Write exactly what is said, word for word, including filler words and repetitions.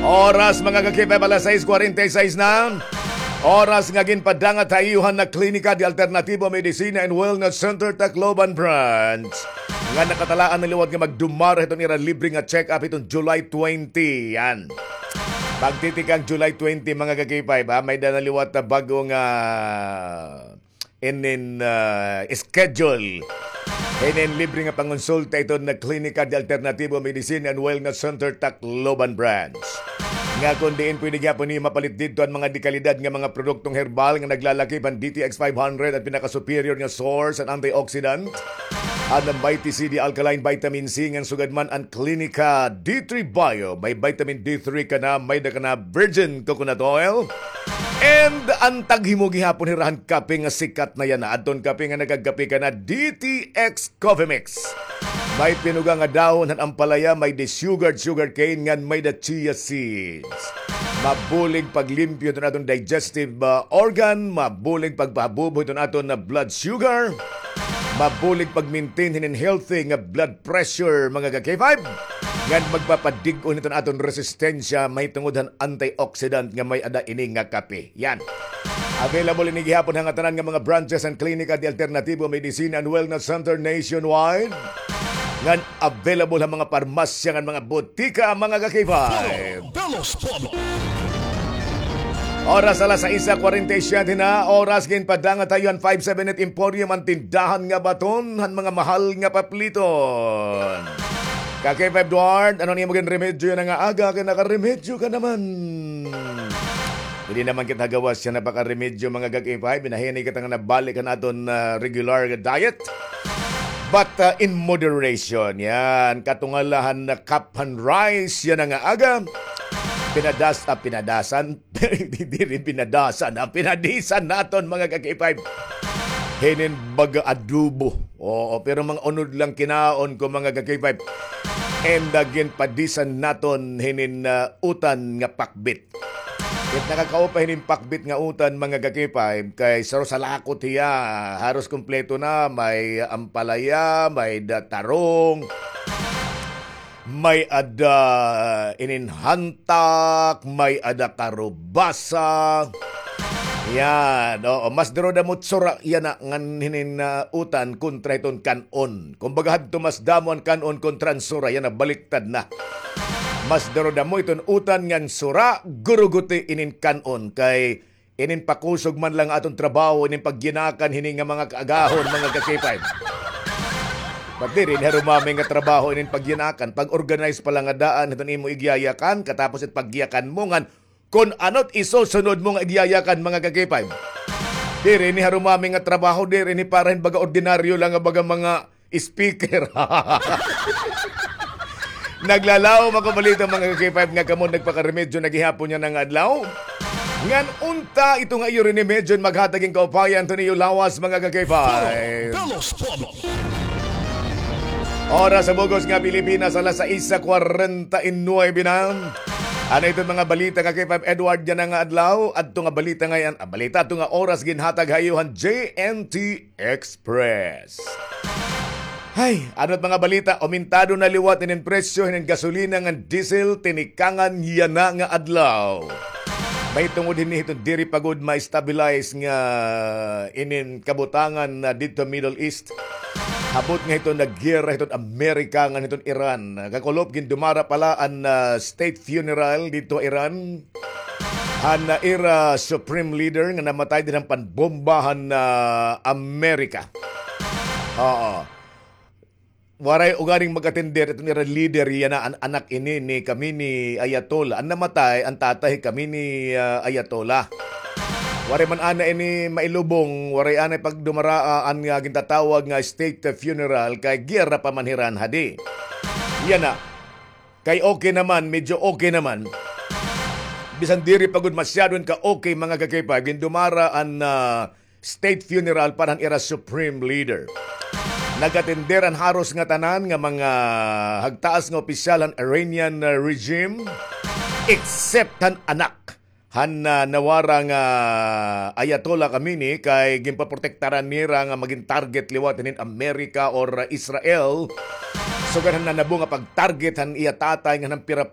Oras, mga ka-K five, alas sais kwarenta y sais na. Oras nga ginpadangat ha iyo han Klinika de Alternativo Medicina and Wellness Center, Tacloban Branch, nga nakatalaan na liwat nga magdumara hiton ira libre nga check-up hiton July twenty. Yan. Pagtitikang July twenty, mga ka-K five, ha, may-ada na liwat na bag-o nga inin, ah, inin, ah, schedule. Inin libre nga pangonsulta hiton Klinika de Alternativo Medicine and Wellness Center, Tacloban Branch. Nga kon diin pwede gihapon niyo mapalit didto an mga dekalidad nga mga produktong herbal nga naglalakip han D T X five hundred, an pinaka-superior nga source han antioxidant. An Mighty C D Alkaline Vitamin C, ngan sugad man an Klinika D three Bio. May vitamin D three ka na, may-ada ka na virgin coconut oil. And an taghimo gihapon hira han kape nga sikat na yana. Adton kape nga nagagkape ka na, D T X Coffee Mix. May pinuga nga dahon han ampalaya, may-ada sugar, sugar cane, ngan may-ada chia seeds. Mabulig paglimpyo hiton aton digestive, ah, organ, mabulig pagpahabubo hiton aton na blood sugar, mabulig pag-maintain hinin healthy nga blood pressure, mga ka-K five. Ngan magpapadig-on hiton aton resistensya mahitungod han antioxidant nga may-ada ini nga kape. Yan. Available ini gihapon ha ngatanan nga mga branches han Klinika de Alternativo Medicine and Wellness Center nationwide. Ngan available ha mga parmasya ngan mga botika, mga ka-K five. Oras alas sais kwarenta y siyete na, oras ginpadangat ha iyo han five seven eight Emporium, an tindahan nga baton han mga mahal nga papliton. Ka-K five Duarte, ano an imo ginremedyo yana nga aga, kay nakaremedyo ka naman? Diri naman kita gawas yana pakaremedyo, mga ka-K five, binahinay kita nga nabalik han aton, ah, regular nga diet. But, ah, in moderation, yan. Katunga la han cup han rice yana nga aga. Pinadas-, ah, pinadasan. Diri pinadasan, ah, pinadisan naton, mga ka-K five. Hinin baga adobo. Oo, pero mga unod lang kinaon ko, mga ka-K five. And, ah, ginpadisan naton hinin, ah, utan nga pakbit. It nakakaupay hinin pakbit nga utan, mga ka-K five, kay saro salakot hiya, haros kumpleto na, may ampalaya, may-ada tarong, may-ada inin hantak, may-ada karubasa. Yan, oo, mas darodamo it sura yana ngan hinin, ah, utan kontra hiton kan-on. Kumbaga hadto mas damo an kan-on kontra an sura, yana baliktad na. Mas darodamo iton utan ngan sura, guruguti inin kan-on, kay inin pakusog man la nga aton trabaho, inin pagyinakan hini nga mga kaagahon, mga ka-K five. But diri ini harumami nga trabaho inin pagyinakan, pag-organize pa la nga daan hiton imo igyayakan, katapos it pagyakan mo ngan kon ano it isusunod mo nga igyayakan, mga ka-K five. Diri ini harumami nga trabaho, diri ini para hin baga ordinaryo la nga baga mga speaker. Naglalaom ako balita, mga ka-K five, nga kamo nagpakaremedyo na gihapon yana nga adlaw. Ngan unta ito nga iyo rinimedyo maghatag hin kaupayan hiton iyo lawas, mga ka-K five. Oras ha bug-os nga Pilipinas, alas sais kwarenta y nuebe na. Ano iton mga balita, ka-K five Edward, yana nga adlaw? Adto nga balita ngay-an, ah, balita, adto nga oras ginhatag ha iyo han J N T Express. Hay, ano it mga balita? Aumentado na liwat inin presyo hinin gasolina ngan diesel tinikangan yana nga adlaw. Mahitungod hini hiton diri pa gud ma-stabilize nga inin kabutangan na didto Middle East. Habot nga hiton naggiyera hiton Amerika ngan hiton Iran. Kakulop gindumara pa la an, ah, state funeral didto ha Iran han, ah, ira supreme leader nga namatay dinhi han panbomba han, ah, Amerika. Oo. Waray ugaling mag-atender iton ira leader, yana an anak ini ni Khamenei Ayatollah. An namatay, an tatay Khamenei, ah, Ayatollah. Waray man ana ini mailubong, waray anay pagdumaraa an nga gintatawag nga state funeral kay giyera pa man hira hadi. Yana. Kay okay naman, medyo okay naman. Bisan diri pa gud masyado ka okay, mga ka-K five, gindumara an, ah, state funeral para han ira supreme leader. Nag-atender an haros ngatanan nga mga hagtaas nga opisyal han Iranian, ah, regime, except han anak han, ah, nawara nga Ayatollah Khamenei, kay ginpaprotektaran nira nga magin target liwat hinin Amerika or Israel. Sugad han nanabo nga pag-target han iya tatay ngan han pira